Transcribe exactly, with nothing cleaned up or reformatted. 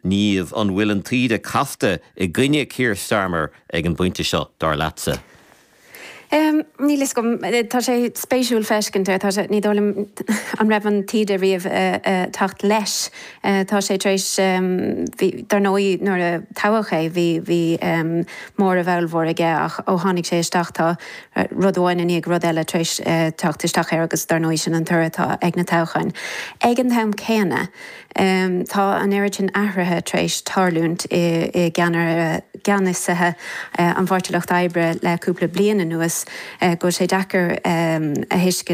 Niamh an bhfuil an taoide casta i gcoinne Keir Starmer ag an bpointe seo dar leatsa. Um, Níl gom tá sé spéisiúil feiscint tá sé ní dóigh liom an raibh an taoide riamh uh, uh, teacht leis uh, tá sé tar éis um, dar ndóigh nuair a toghadh é bhí bhí um, mór a bhfuilmhór aige ach ó tháinig sé isteach tá rud amháin i ndiaidh rud eile tar éis uh, teacht isteach air agus dar ndóigh sin an toradh atá ag na toghcháin. Ag an am céanna um, tá an oiread sin athruithe tar éis tarlúint i, i gceannasaithe uh, an Pháirtí Lucht Oibre le cúpla bliain anuas uh, go sé deacair um, a thuiscint